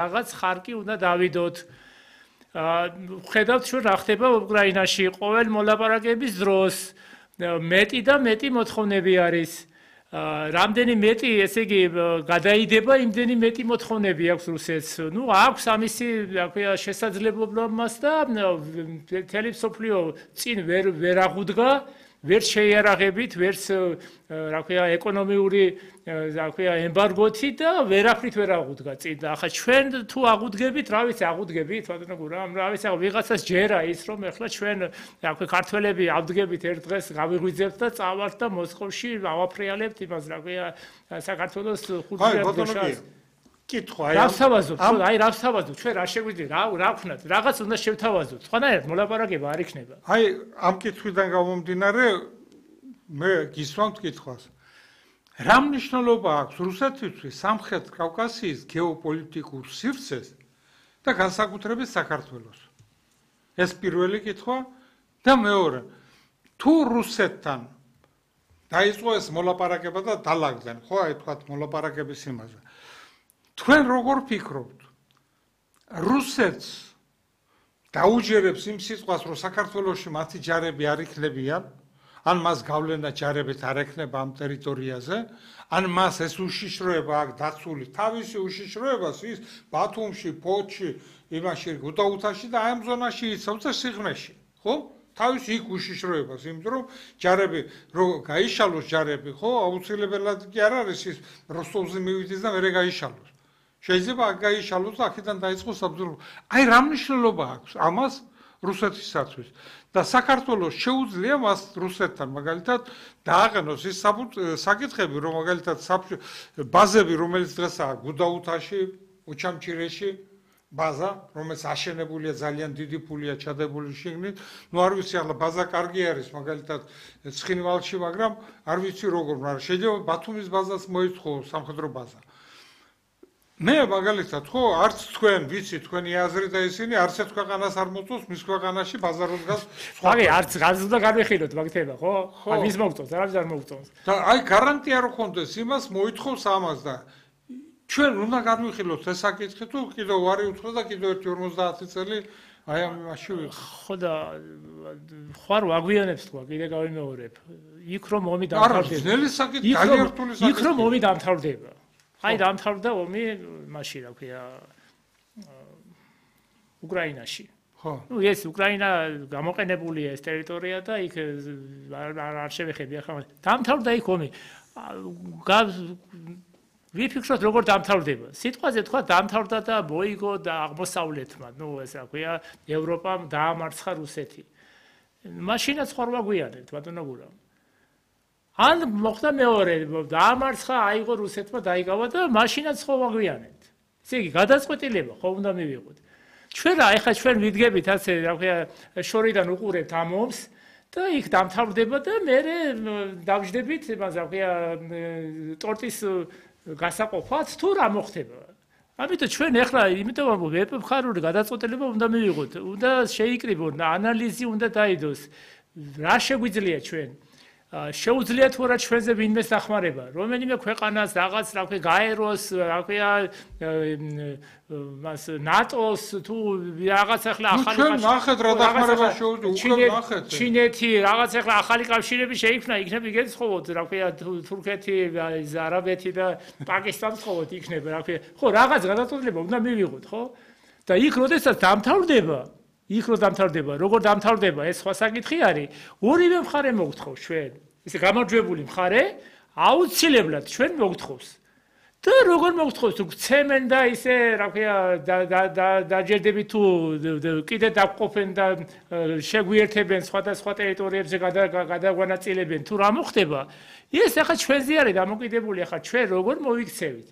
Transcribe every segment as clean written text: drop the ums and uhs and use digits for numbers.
რაღაც ხარკი უნდა დავიდოთ. ხედავთ ჩვენ რა ხდება უკრაინაში ყოველ მოლაპარაკების დროს მეტი და მეტი მოთხოვნები არის. რამდენი მეტი, ესე იგი, გადაიდება, იმდენი მეტი მოთხოვნები აქვს რუსეთს. ნუ აქვს ამისი, რა ქვია, შესაძლებლობა მას და მთელი მსოფლიო წინ ვერ აღუდგა, ვერ შეიარაღებით, ვერც რა ქვია, ეკონომიური, რა ქვია, ემბარგოთი და ვერაფრით ვერ აღუდგა წინ. და ახლა ჩვენ თუ აღუდგებით, რა ვიცი, აღუდგებით, ბატონო გურა, რა ვიცი, ვიღაცას ჯერა ის, რომ ეხლა ჩვენ, რა ქვია, ქართველები ავდგებით ერთ დღეს, გავიღვიძებთ და წავართ და მოსკოვში ავაფრიალებთ იმას, რა ქვია, საქართველოს 5 მილიარდს. კითხვა, აი რა ვსავაზობთ, ჩვენ რა შეგვიძლია, რა ვქნათ, რაღაც უნდა შევთავაზოთ. სხვანაირად მოლაპარაკება არ იქნება. აი ამ კითხვიდან გამომდინარე, მე გისვამთ კითხვას. რა მნიშვნელობა აქვს რუსეთისთვის სამხრეთ კავკასიის გეოპოლიტიკურ სივრცეს და განსაკუთრებით საქართველოს? ეს პირველი კითხვა და მეორე, თუ რუსეთთან დაიწყო ეს მოლაპარაკება და დალაგდნენ, ხო, აი თქვათ მოლაპარაკების იმაზე. თქვენ როგორ ფიქრობთ? რუსეთს დაუჯერებს იმ სიტყვას, რომ საქართველოში მათი ჯარები არ იქნებიან, ან მას გავლენა ჯარებით არ ექნება ამ ტერიტორიაზე, ან მას ეს უშიშროება აქვს დაცული, თავისი უშიშროებას ის ბათუმში, ფოთში, იმაში გუდაუთაში და ამ ზონაში იცავს და სიღრმეში, ხო? თავის იქ უშიშროებას, იმიტომ რომ ჯარები რო გაიშალოს ჯარები, ხო, აუცილებლად კი არ არის ის როსტოვზე მივიდეს და მერე გაიშალოს. შეიძლება აქ გაიშალოს და აქედან დაიწყოს საბრძოლო. აი რა მნიშვნელობა აქვს ამას რუსეთისათვის და საქართველოს შეუძლია მას რუსეთთან მაგალითად დააყენოს ის საკითხები, რომ მაგალითად ბაზები, რომელიც დღესაა გუდაუთაში, უჩამჩირეში, ბაზა, რომელიც აშენებულია ძალიან დიდი ფულია ჩადებული შიგნით, ნუ არ ვიცი ახლა ბაზა კარგი არის მაგალითად ცხინვალში, მაგრამ არ ვიცი როგორ, მაგრამ შეიძლება ბათუმის ბაზას მოიწყოს სამხედრო ბაზა. მე მაგალითად ხო არც თქვენ ვიცი თქვენი აზრი და ისინი არც ერთ ქვეყანას არ მოწონს მის ქვეყანაში ბაზაროს გას სხვა. აი არც უნდა განვიხილოთ მაგითება ხო? აი ვის მოგწონს, არავის არ მოგწონს. და აი გარანტია რო ხონდეს იმას მოითხოვს ამას და ჩვენ უნდა განვიხილოთ ეს საკითხი თუ კიდევ ვარი უთხრა და კიდევ 1-50 წელი აი ამ იმაში ვიყო. ხო და ხარ ვაგვიანებს თქვა კიდე გავიმეორებ. იქ რომ ომი დამთავრდება. არა, ძნელი საკითხი, გაიერთული საკითხი. იქ რომ ომი დამთავრდება. აი დამთავრდა ომი მაშინ რა ქვია უკრაინაში. ხო. ნუ ეს უკრაინა გამოყენებულია ეს ტერიტორია და იქ არ შევეხები ახლა. დამთავრდა იქ ომი. ვიფიქროთ როგორ დამთავრდება. სიტყვაზე თქვა დამთავრდა და მოიგო და აღმოსავლეთმა, ნუ ეს რა ქვია ევროპამ დაამარცხა რუსეთი. მაშინაც ხარ ვაგვიანებთ ბატონო გურა. ან მოხდა მეორე, დაამარცხა, აიღო რუსეთმა დაიგავა და მაშინაც ხო ვაგვიანებთ. ესე იგი, გადაწყვეტილება ხო უნდა მივიღოთ. ჩვენ რა, ეხლა ჩვენ ვიდგებით ასე, რა ქვია, შორიდან უყურებთ ამ ომს და იქ დამთავრდება და მე დავждებით, იმას რა ქვია, ტორტის გასაყოფად თუ რა მოხდება. ამიტომ ჩვენ ეხლა, იმიტომ რომ ვეპხარული გადაწყვეტილება უნდა მივიღოთ, უნდა შეიკრიბონ, ანალიზი უნდა დაიდოს. რა შეგვიძლია ჩვენ? შეუძლიათ თუ არა ჩვენზე ვინმეს დახმარება, რომელიმე ქვეყანას რაღაც რა ქვია გაეროს, რა ქვია მას ნატოს თუ რაღაც ახლა ახალი ჩვენ ნახეთ რა დახმარება შეუძლია, უკვე ნახეთ. ჩინეთი რაღაც ახლა ახალი კავშირები შეიქმნა, იქნებ იგებს ხოვოთ, რა ქვია თურქეთი, არაბეთი და პაკისტანს ხოვოთ იქნება, რა ქვია. ხო, რაღაც გადაწყვეტილება უნდა მივიღოთ, ხო? და იქ როდესაც დამთავრდება იქ რო დამთავრდება, როგორ დამთავრდება, ეს სხვა საკითხი არის. ორივე მხარე მოგთხოვს ჩვენ. ესე გამარჯვებული მხარე აუცილებლად ჩვენ მოგთხოვს. და როგორ მოგთხოვს, თუ გცემენ და ისე, რა ქვია, დაჯერდებით თუ კიდე დაგყოფენ და შეგვიერთებენ სხვადასხვა ტერიტორიებზე გადაგვანაწილებენ, თუ რა მოხდება, ეს ახლა ჩვენზე არის დამოკიდებული, ახლა ჩვენ როგორ მოვიქცევით.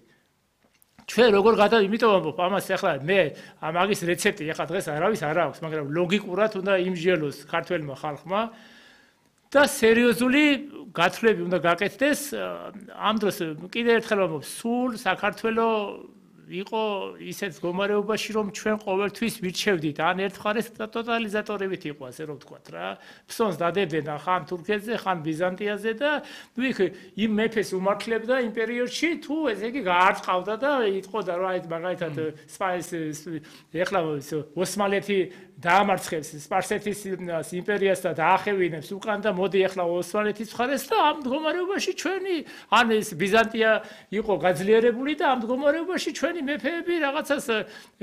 ჩვენ როგორ იმიტომ ამას ახლა მე ამაგის რეცეპტი ახლა დღეს არავის არ აქვს, მაგრამ ლოგიკურად უნდა იმსჯელოს ქართველმა ხალხმა და სერიოზული გათვლები უნდა გაკეთდეს ამ დროს კიდევ ერთხელ ვამბობ, სულ საქართველოს იყო ისეთ მდგომარეობაში, რომ ჩვენ ყოველთვის ვირჩევდით, ან ერთ მხარეს ტოტალიზატორებით იყო, ასე რომ ვთქვათ რა. ფსონს დადებდნენ ხან თურქეთზე, ხან ბიზანტიაზე და იქ იმ მეფეს უმართლებდა იმ პერიოდში, თუ ესე იგი გაარწყავდა და იტყოდა რა ეს მაგალითად ეხლა ოსმალეთი დაამარცხებს სპარსეთის იმპერიას და დაახევინებს უკან და მოდი ახლა ოსმალეთის მხარეს და ამ მდგომარეობაში ჩვენი ან ეს ბიზანტია იყო გაძლიერებული და ამ მდგომარეობაში ჩვენი მეფეები რაღაცას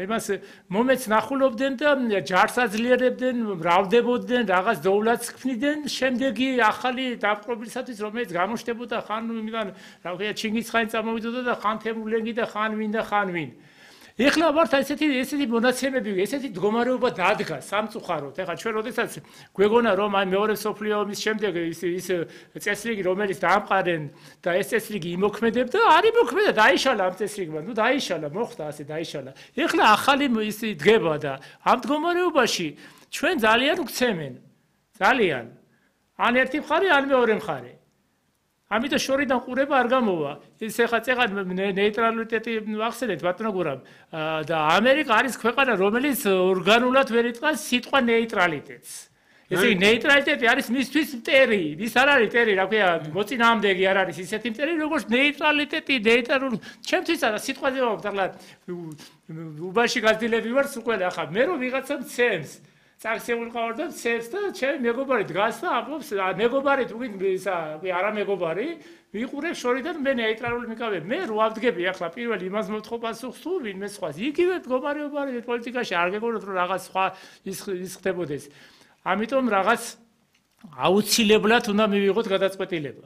იმას მომეც ნახულობდნენ და ჯარს აძლიერებდნენ, მრავლდებოდნენ, რაღაც დოვლათს ქმნიდნენ, შემდეგი ახალი დაპყრობისათვის რომელიც გამოჩნდებოდა ხან იმიდან რა ქვია ჩინგისხანი წამოვიდოდა და ხან თემურლენგი და ხან ვინ და ხან ვინ. ეხლა ვართ ესეთი მონაცემები, ესეთი მდგომარეობა დადგა სამწუხაროდ. ეხლა ჩვენ როდესაც გვეგონა რომ აი მეორე მსოფლიო ომის შემდეგ ის წესრიგი რომელიც დაამყარენ და ეს წესრიგი იმოქმედებდა, არ იმოქმედა, დაიშალა ამ წესრიგმა, ნუ დაიშალა, მოხდა ასე დაიშალა. ეხლა ახალი ის დგება და ამ მდგომარეობაში ჩვენ ძალიან ვქცემენ. ძალიან. ან ერთი მხარე, ან მეორე მხარე. ამიტომ შორიდან ყურება არ გამოვა. ის ეხლა წეღად ნეიტრალიტეტი ახსენეთ ბატონო გურამ და ამერიკა არის ქვეყანა, რომელიც ორგანულად ვერ იტყვის სიტყვა ნეიტრალიტეტს. ესე იგი ნეიტრალიტეტი არის მისთვის მტერი, ის არ არის მტერი, რა ქვია, მოწინააღმდეგე არ არის ისეთი მტერი, როგორც ნეიტრალიტეტი, ნეიტრალური. ჩემთვის არა სიტყვაზე ვაკეთებ, უბანში გაზრდილები ვარ უკვე ახლა მე რომ ვიღაცა მცემს წაქცეული ყავარ და ცებს და ჩემი მეგობარი დგას და ამბობს მეგობარი თუ ისა არა მეგობარი ვიყურებ შორიდან მე ნეიტრალური მიკავებ მე რო ავდგები ახლა პირველ იმას მოთხოვ პასუხს თუ ვინმე სხვას იგივე მდგომარეობა პოლიტიკაში არ გეგონოთ რომ რაღაც სხვა ის ხდებოდეს ამიტომ რაღაც აუცილებლად უნდა მივიღოთ გადაწყვეტილება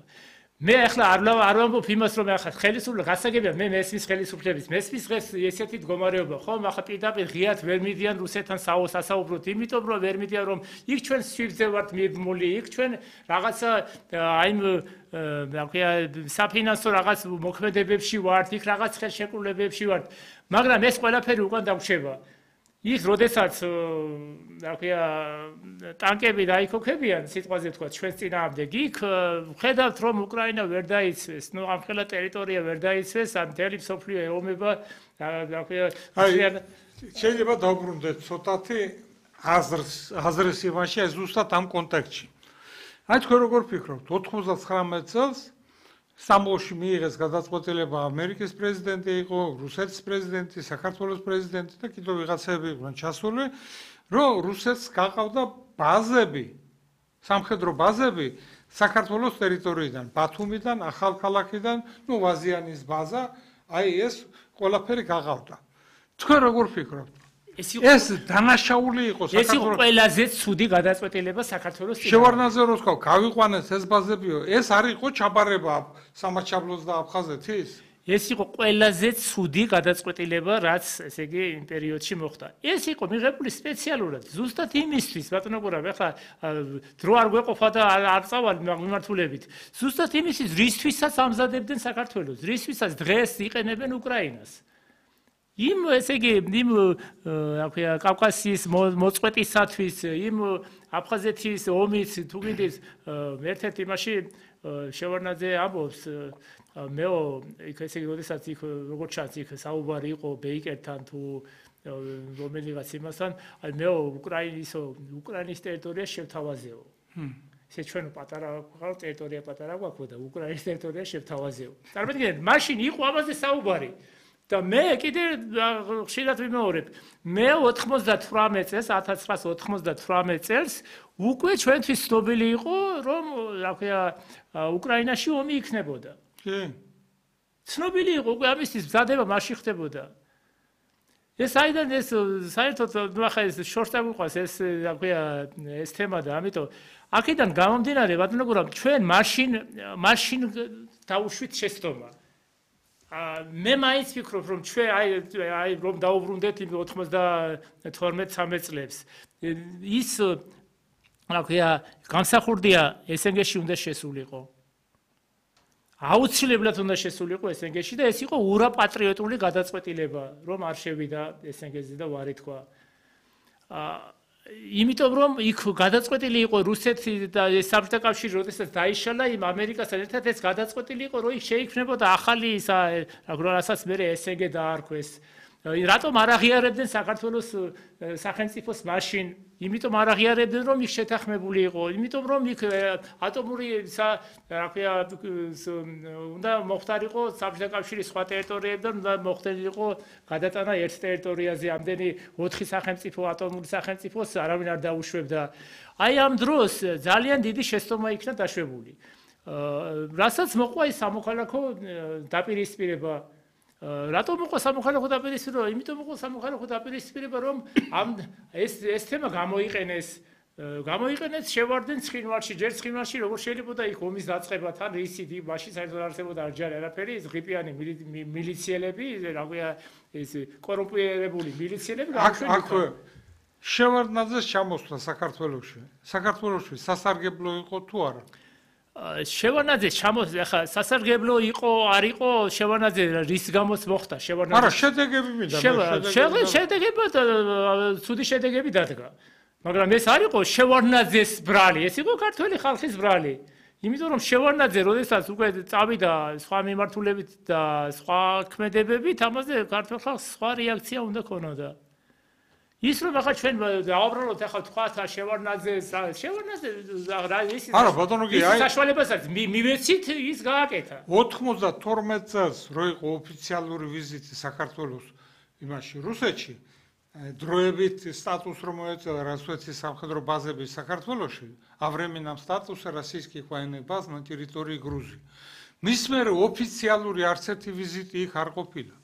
მე ახლა არ ვამბობ იმას რომ ახლა ხელისუფლება გასაგებია მე მესმის ხელისუფლების მესმის დღეს ესეთი მდგომარეობა ხომ ახლა პირდაპირ ღიად ვერ მიდიან რუსეთთან სასაუბროთ იმიტომ რომ ვერ მიდიან რომ იქ ჩვენ სვიფტზე ვართ მიბმული იქ ჩვენ რაღაცა აი რა ქვია საფინანსო რაღაც მოქმედებებში ვართ იქ რაღაც ხელშეკრულებებში ვართ მაგრამ ეს ყველაფერი უკან დაგვშება იქ როდესაც რა ქვია ტანკები დაიქოქებიან სიტყვაზე თქვა ჩვენს წინააღმდეგ იქ ხედავთ რომ უკრაინა ვერ დაიცვეს ნუ ამ ხელა ტერიტორია ვერ დაიცვეს ან მთელი მსოფლიო ეომება რა ქვია შეიძლება დავბრუნდეთ ცოტათი აზრის იმაში ეს ზუსტად ამ კონტექსტში აი თქვენ როგორ ფიქრობთ 99 წელს სტამბოლში მიიღეს გადაწყვეტილება ამერიკის პრეზიდენტი იყო, რუსეთის პრეზიდენტი, საქართველოს პრეზიდენტი და კიდევ ვიღაცები იყვნენ ჩასული, რომ რუსეთს გაყავდა ბაზები, სამხედრო ბაზები საქართველოს ტერიტორიიდან, ბათუმიდან, ახალქალაქიდან, ნუ ვაზიანის ბაზა, აი ეს ყველაფერი გაყავდა. თქვენ როგორ ფიქრობთ? ეს დანაშაული იყო საქართველოს. ეს იყო ყველაზე ცუდი გადაწყვეტილება საქართველოს წინააღმდეგ. შევარდნაძე რო თქვა, გავიყვანეთ ეს ბაზებიო, ეს არ იყო ჩაბარება სამაჩაბლოს და აფხაზეთის? ეს იყო ყველაზე ცუდი გადაწყვეტილება, რაც ესე იგი იმ პერიოდში მოხდა. ეს იყო მიღებული სპეციალურად, ზუსტად იმისთვის, ბატონო გურამ, ახლა დრო არ გვეყოფა და არ წავალ მიმართულებით. ზუსტად იმისთვის, რისთვისაც ამზადებდნენ საქართველოს, რისთვისაც დღეს იყენებენ უკრაინას. იმ ესე იგი იმ რა ქვია კავკასიის მოწყვეტისათვის იმ აფხაზეთის ომის თუ კიდეს ერთ-ერთ იმაში შევარდნაძე ამბობს მეო იქ ესე იგი როდესაც იქ როგორც ჩანს იქ საუბარი იყო ბეიკერთან თუ რომელიღაც იმასთან აი მეო უკრაინის ტერიტორია შევთავაზეო ესე ჩვენ პატარა ტერიტორია პატარა გვაქვს და უკრაინის ტერიტორია შევთავაზეო წარმოგიდგენთ მაშინ იყო ამაზე საუბარი და მე კიდე ხშირად ვიმეორებ მე 98 წელს 1998 წელს უკვე ჩვენთვის ცნობილი იყო რომ რა ქვია უკრაინაში ომი იქნებოდა კი ცნობილი იყო უკვე ამისთვის მზადება მასში ხდებოდა ეს აიდან ეს საერთოდ ნახე ეს შორს დაგვიყვანს ეს რა ქვია ეს თემა და ამიტომ აქედან გამომდინარე ბატონო გურამ ჩვენ მაშინ დაუშვით შეცდომა მე მაინც ვფიქრობ რომ ჩვენ აი რომ დაუბრუნდეთ 92-13 წლებს ის რა ქვია განსახურდია ესენგეში უნდა შესულიყო აუცილებლად უნდა შესულიყო ესენგეში და ეს იყო ურაპატრიოტული გადაწყვეტილება რომ არ შევიდა ესენგეზე და ვარი თქვა იმიტომ რომ იქ გადაწყვეტილი იყო რუსეთი და საბჭოთა კავშირი, როდესაც დაიშალა იმ ამერიკასთან ერთად ეს გადაწყვეტილი იყო, რომ იქ შეიქმნებოდა ახალი რასაც მე SNG დაარქვეს. რატომ არ აღიარებდნენ საქართველოს სახელმწიფოს მაშინ? იმიტომ არ აღიარებდნენ, რომ იქ შეთანხმებული იყო, იმიტომ რომ იქ ატომური უნდა მოხდარიყო საბჭოთა კავშირის სხვა ტერიტორიებიდან, უნდა მოხდარიყო გადატანა ერთ ტერიტორიაზე ამდენი 4 სახელმწიფო ატომური სახელმწიფოს არავინ არ დაუშვებდა. აი ამ დროს ძალიან დიდი შეცდომა იქნა დაშვებული. რასაც მოყვა ის სამოქალაქო დაპირისპირება. რატომ მოყვა სამოქალაქო დაპირისპირება? იმიტომ მოყვა სამოქალაქო დაპირისპირება, რომ ეს თემა გამოიყენეს შევარდნენ ცხინვალში, ჯერ ცხინვალში როგორ შეიძლება იქ ომის დაწყება თან რისით, მაშინ საერთოდ არ არსებობდა არჯარი არაფერი, ეს ღიპიანი მილიციელები, რაგვია ეს კორუმპირებული მილიციელები აქ შევარდნაძეს ჩამოსვლა საქართველოში სასარგებლო იყო თუ არა? შევარდნაძე ჩამოსვლა, ახლა სასარგებლო იყო, არ იყო შევარდნაძე რის გამოც მოხდა შევარდნაძე? არა, შედეგები მინდა. შედეგები ცუდი შედეგები დადგა. მაგრამ ეს არ იყო შევარდნაძეს ბრალი, ეს იყო ქართველი ხალხის ბრალი. იმიტომ რომ შევარდნაძე როდესაც უკვე წავიდა სხვა მიმართულებით და სხვა ქმედებებით, ამაზე ქართველ ხალხს სხვა რეაქცია უნდა ქონოდა. ის რომ ახლა ჩვენ დავაბრალოთ ახლა თქვათ შევარდნაძეს არა ბატონო კი აი საშუალებას არის მივეცით ის გააკეთა 92 წელს რო იყო ოფიციალური ვიზიტი საქართველოს იმაში რუსეთში დროებით სტატუს რომ მოეწელა რუსეთის სამხედრო ბაზები საქართველოში ავრემინამ სტატუსը российских военных баз на территории Грузии მის მერე ოფიციალური არც ერთი ვიზიტი იქ არ ყოფილა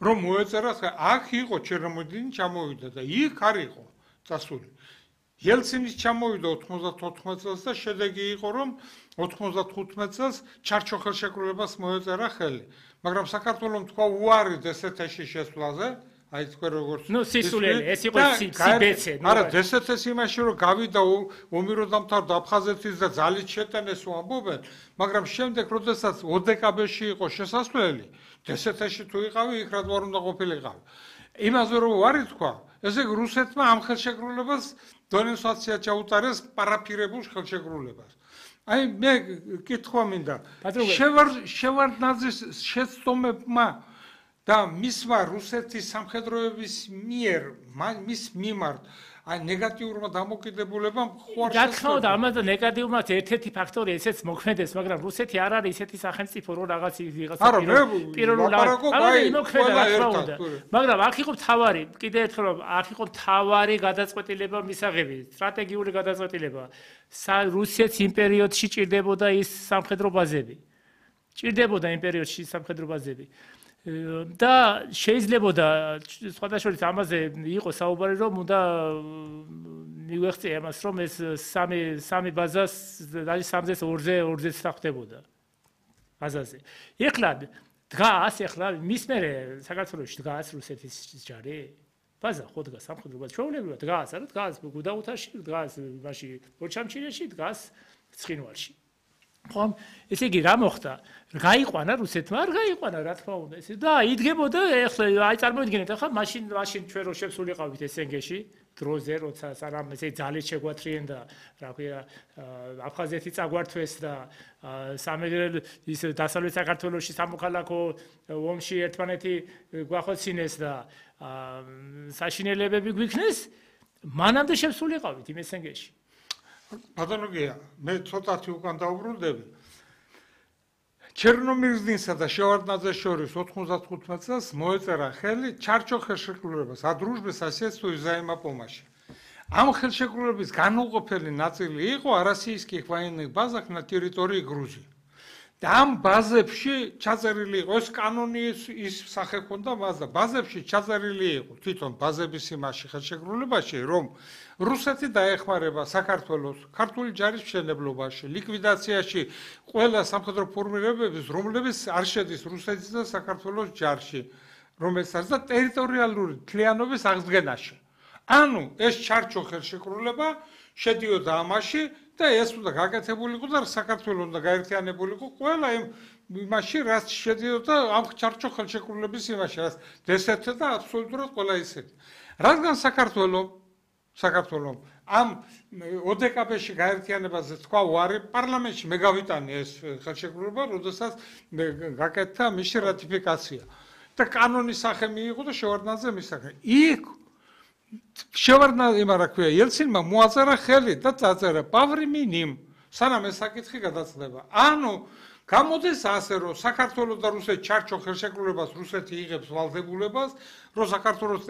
რომ მოეწერა აქ იყო ჩერნომოდინი ჩამოვიდა და იქ არ იყო წასული ელცინის ჩამოვიდა 94 წელს და შედეგი იყო რომ 95 წელს ჩარჩო ხელშეკრულებას მოეწერა ხელი მაგრამ საქართველოს თქვა უარი დსთ-ში შესვლაზე აი თქვენ როგორც ნუ სისულელი ეს იყო სიბეცე არა დსთ-ს იმაში რომ გავიდა ომი რო დამთავრდა აფხაზეთის და ძალით შეტანეს ამბობენ მაგრამ შემდეგ როდესაც ოდკბ-ში იყო შესასვლელი დსთ-ში თუ იყავი იქ რა თქმა უნდა ყოფილიყავი იმაზე რომ ვარი თქვა ესე რუსეთმა ამ ხელშეკრულებას დონენსაცია ჩაუტარეს პარაფირებულ ხელშეკრულებას აი მე კითხვა მინდა შევარდნაძის შეცდომებმა და მისმა რუსეთის სამხედროების მიერ მის მიმართ აი ნეგატიურმა დამოკიდებულებამ ხوار რა თქმა უნდა ამაზე ნეგატიურმაც ერთ-ერთი ფაქტორი ესეც მოქმედებს მაგრამ რუსეთი არ არის ისეთი სახელმწიფო რომ რაღაც მაგრამ აქ იყო თავარი კიდე ერთხელ აქ იყო თავარი გადაწყვეტილება მისაღები სტრატეგიული გადაწყვეტილება რუსეთის იმ პერიოდში ჭირდებოდა ის სამხედრო ბაზები ჭირდებოდა იმ პერიოდში სამხედრო ბაზები და შეიძლებოდა სხვადასხვა ამაზე იყო საუბარი რომ უნდა მივეხწია მას რომ ეს სამი ბაზას არის 3-2-ზე ხდებოდა ბაზაზე. ეხლა დგას მის მერე საქართველოში დგას რუსეთის ჯარი ბაზა ხო დგას სამხედრო ბაზა ჩვეულებრივად დგას არა დგას გუდაუთაში დგას მაშინ ბორჩამჩირეში დგას ცხინვალში ხომ ესე იგი რა მოხდა გაიყვანა რუსეთმა არ გაიყვანა რა თქმა უნდა ესე და იდგებოდა ეხლა აი წარმოიდგინეთ ახლა მაშინ ჩვენ რო შევსულიყავით SNG-ში დროზე როცა სანამ ესე ძალით შეგვათრიენ და რა ქვია აფხაზეთი წაგვართვეს და ის დასავლეთ საქართველოში სამოქალაქო ომში ერთმანეთი გვახოცინეს და საშინელებები გვიქნეს მანამდე შევსულიყავით იმ SNG-ში ბატონო გია მე ცოტათი უკან დაუბრუნდები ჩერნომირზინსა და შევარდნაძეს შორის 95 წელს მოეწერა ხელი ჩარჩო ხელშეკრულებას ადრუჟბე соседству и взаимопомощи ამ ხელშეკრულების განუყოფელი ნაწილი იყო российских военных базах на территории Грузии და ამ ბაზებში ჩაწერილი იყო ეს კანონი ის სახე ჰქონდა მას და ბაზებში ჩაწერილი იყო თვითონ ბაზების იმაში ხელშეკრულებაში რომ რუსეთი დაეხმარება საქართველოს ქართული ჯარის მშენებლობაში ლიკვიდაციაში ყველა სამხედრო ფორმირებების რომლებიც არ შედის რუსეთის და საქართველოს ჯარში რომელსაც და ტერიტორიალური თლიანობის აღდგენაში ანუ ეს ჩარჩო ხელშეკრულება შედიოდა ამაში და ეს უნდა გაკეთებულიყო და საქართველოს უნდა გაერთიანებულიყო ყველა იმაში რაც შედიოდა ამ ჩარჩო ხელშეკრულების იმაში რაც დსთ და აბსოლუტურად ყველა ისეთი რადგან საქართველოს საქართველოს ამ ოდკბ-ში გაერთიანებაზე თქვა უარი პარლამენტში მე გავიტანი ეს ხელშეკრულება, როდესაც გაკეთდა მისი რატიფიკაცია და კანონის სახე მიიღო და შევარდნაძე მისახე. იქ შევარდნაძე რა ქვია, ელცინმა მოაწერა ხელი და წაწერა პავრი მინიმ, სანამ ეს საკითხი გადაწდება. ანუ გამოდის ასე, რომ საქართველოს და რუსეთი ჩარჩო ხელშეკრულებას რუსეთი იღებს ვალდებულებას, რომ საქართველოს